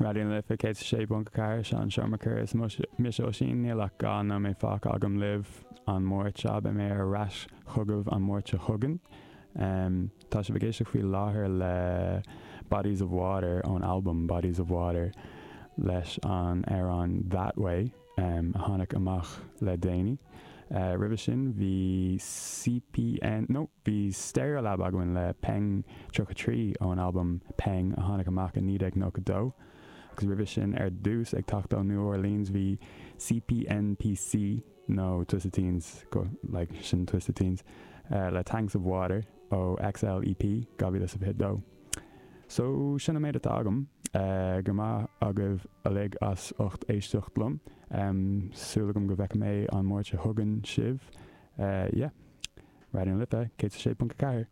Raidió na Life 106.4, Seán Seomra Is mise Oisín, níl ach 2 nóiméad fágtha agam libh an Máirt seo, beidh mé ar ais chugaibh an Máirt seo chugainn. Tá sibh ag éisteacht faoi láthair le Bodies of Water ón albam Bodies of Water leis an amhrán That Way a tháinig amach le déanaí. Roimhe sin bhí CPN, no, bhí Stereolab againn le Peng 33 ón albam Peng a tháinig amach i 1992. Agus roimhe sin ar dtús ag teacht ó New Orleans bhí CPNPC nó Twisted Teens, go, like, sin Twisted Teens, le Tanks of Water ó XL EP 2022. So, sin an méid atá agam. Go raibh maith agaibh uilig as ucht éisteacht liom. Súil agam go bhfeicfidh mé an Máirt seo chugainn sibh. Yeah. Raidió na Life, 106.4.